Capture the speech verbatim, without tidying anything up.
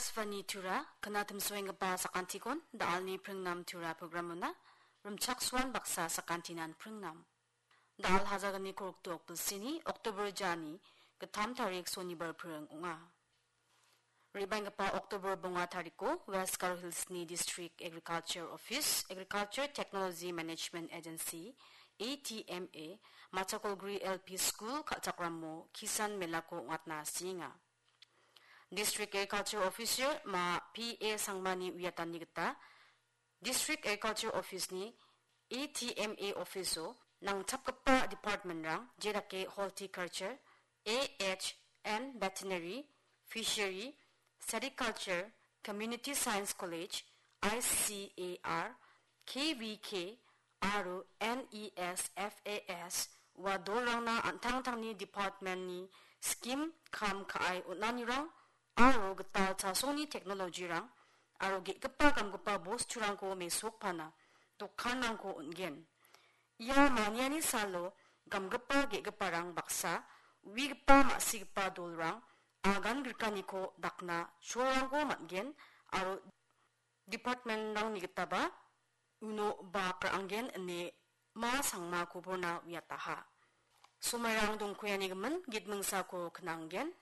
Akashvani Tura, knatimsoenggipa sakantikon, da·alni pringnam Tura programona, rimchaksoan baksa sakantinan pringnam. Da·al hajalgni kolgrikdok bilsini, October jani, gittam tarik sonibar pring ong·a. Re·baenggipa October bonga tariko West Garo Hillsni District Agriculture Office, Agriculture Technology Management Agency, A T M A, Machakolguri L P School kal·chakramo Kisan Melako ong·atna sienga. District Agriculture Officer ma P A Sangmani uiatani gita District Agriculture Office-ni A T M A office-o nangchapgipa department-rang, jedake Horticulture, A H and Veterinary, Fishery, Sericulture, Community Science College, I C A R, K V K, aro N E S F A S ua dolrangna an·tangtangni department-ni scheme kam ka·e on·anirang aro gital chasongni technology-rang aro ge·gipa gamgipa bosturangko mesokpana dokanrangko on·gen. Ia maniani salo gamgipa ge·giparang baksa uigipa ma·sigipa dolrang agan grikaniko dakna cholrangko man·gen aro department-rangni gitaba uno bak ra·angen ine ma Sangma koborna uiataha. Somairang dongkoianigimin gitmingsako knanggen.